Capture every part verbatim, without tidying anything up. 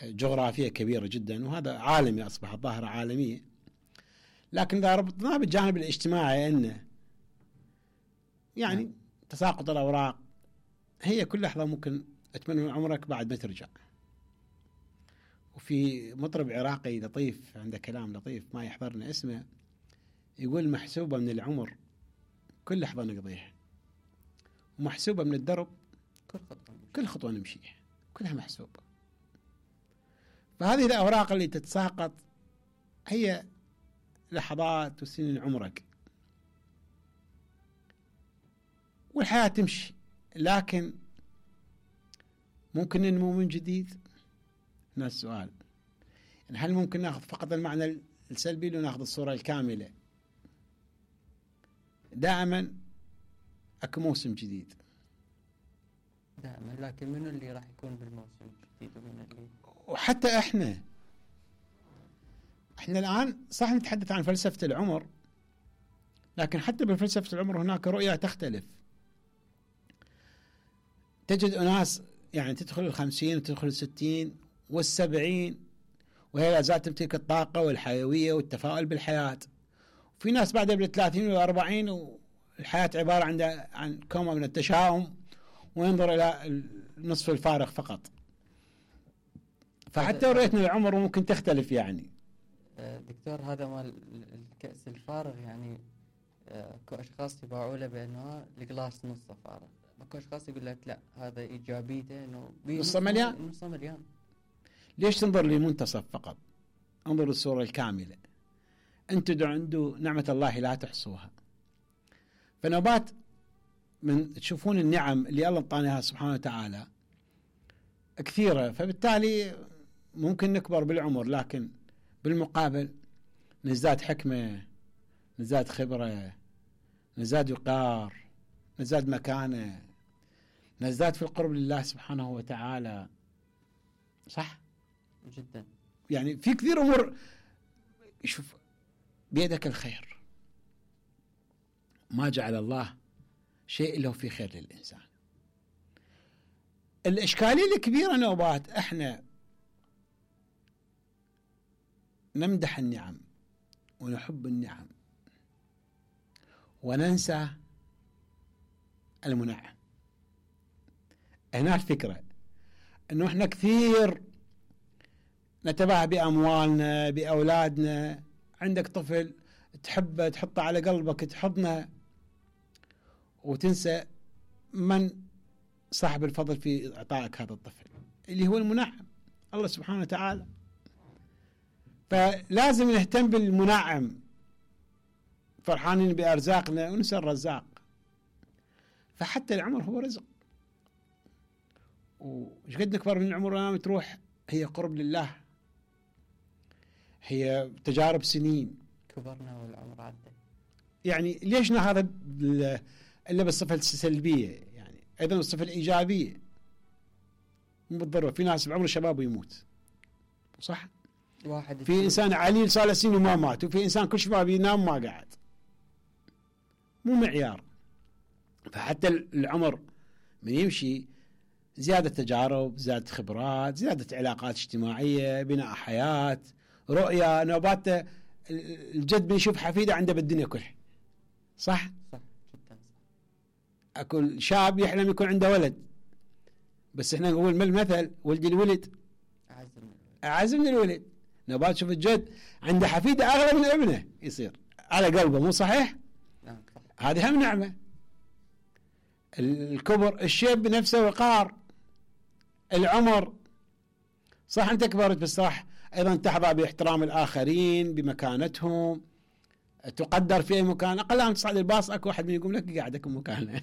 جغرافية كبيرة جدا، وهذا عالمي، أصبحت ظاهرة عالمية. لكن إذا ربطناه بالجانب الاجتماعي أنه يعني نعم. تساقط الأوراق هي كل لحظة ممكن أتمنى من عمرك بعد ما ترجع. وفي مطرب عراقي لطيف عنده كلام لطيف ما يحضرنا اسمه، يقول محسوبة من العمر كل لحظة نقضيها، ومحسوبة من الدرب كل خطوة كل خطوة نمشيها، كلها محسوبة. فهذه الأوراق اللي تتساقط هي لحظات وسنين عمرك، والحياة تمشي. لكن ممكن ننمو من جديد؟ هنا السؤال، يعني هل ممكن ناخذ فقط المعنى السلبي لو ناخذ الصورة الكاملة؟ دائما اكو موسم جديد دائما، لكن منو اللي راح يكون بالموسم الجديد ومن اللي وحتى احنا احنا الان صح نتحدث عن فلسفة العمر، لكن حتى بفلسفة العمر هناك رؤية تختلف. تجد أناس يعني تدخل الخمسين وتدخل الستين والسبعين وهي لا زالت تمتلك الطاقة والحيوية والتفاؤل بالحياة، وفي ناس بعدها بالثلاثين والأربعين والحياة عبارة عن عن كومة من التشاؤم وينظر إلى النصف الفارغ فقط. فحتى رؤيتنا للعمر ممكن تختلف. يعني دكتور هذا مال الكأس الفارغ، يعني اكو اشخاص يباعوا له بانه الجلاس نصه فارغ، اكو اشخاص يقول لك لا هذا ايجابيته انه نصه مليان. نصه مليان. ليش تنظر للمنتصف فقط؟ انظر للصورة الكاملة. انتم عنده نعمة الله لا تحصوها. فنوبات من تشوفون النعم اللي الله اعطاناها سبحانه وتعالى كثيرة، فبالتالي ممكن نكبر بالعمر، لكن بالمقابل نزداد حكمة، نزداد خبرة، نزداد وقار، نزداد مكانة، نزداد في القرب لله سبحانه وتعالى. صح؟ جدا. يعني في كثير أمور. شوف بيدك الخير، ما جعل الله شيء إلا في خير للإنسان. الإشكالية الكبيرة نوبات احنا نمدح النعم ونحب النعم وننسى المنعم. هنا الفكرة انه احنا كثير نتباهى بأموالنا بأولادنا. عندك طفل تحبه تحطه على قلبك تحضنه، وتنسى من صاحب الفضل في إعطائك هذا الطفل اللي هو المنعم الله سبحانه وتعالى. فلازم نهتم بالمنعم، فرحانين بأرزاقنا وننسى الرزاق. فحتى العمر هو رزق، وش قد نكبر من العمر ونام تروح هي قرب لله، هي تجارب سنين. كبرنا والعمر عدى. يعني ليش هذا إلا بالصفة السلبية؟ يعني أيضا الصفة الإيجابية مو بالضرورة. في ناس بعمر الشباب ويموت، صح؟ واحد في إنسان عليل صار له سنين وما مات، وفي إنسان كل شباب ينام ما قاعد. مو معيار. فحتى العمر من يمشي زيادة تجارب، زيادة خبرات، زيادة علاقات اجتماعية، بناء حياة، رؤية. نوبات الجد بيشوف حفيده عنده بالدنيا كلها. صح؟ صح جدا صح. أكو شاب يحلم يكون عنده ولد، بس احنا نقول من المثل ولد الولد أعز من الولد. أعز من الولد. نوبات شوف الجد عنده حفيده أغلى من ابنه يصير على قلبه. مو صحيح؟ نعم صح. هذه هم نعمة. الكبر، الشيب بنفسه وقار. العمر صح أنت كبرت، بس صح أيضا تحظى باحترام الآخرين بمكانتهم، تقدر في أي مكان. أقل أن تصعد الباص أكو واحد من يقوم لك قاعدك مكانه.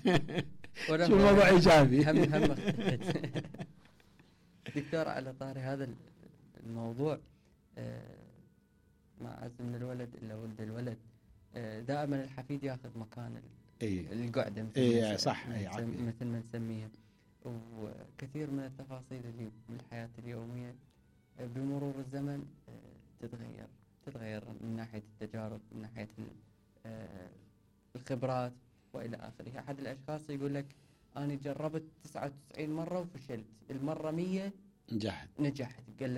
شو موضوع إيجابي. هم هم دكتور على طاري هذا الموضوع، ما عز من الولد إلا ولد الولد. دائما الحفيد ياخذ مكان إيه. القعدة مثل إيه صح مثل ما نسميها. وكثير من التفاصيل اللي بالحياة اليومية بمرور الزمن تتغير تتغير من ناحية التجارب، من ناحية الخبرات وإلى آخره. أحد الأشخاص يقول لك أنا جربت تسعة وتسعين مرة وفشلت، المرة مية نجحت نجحت. قال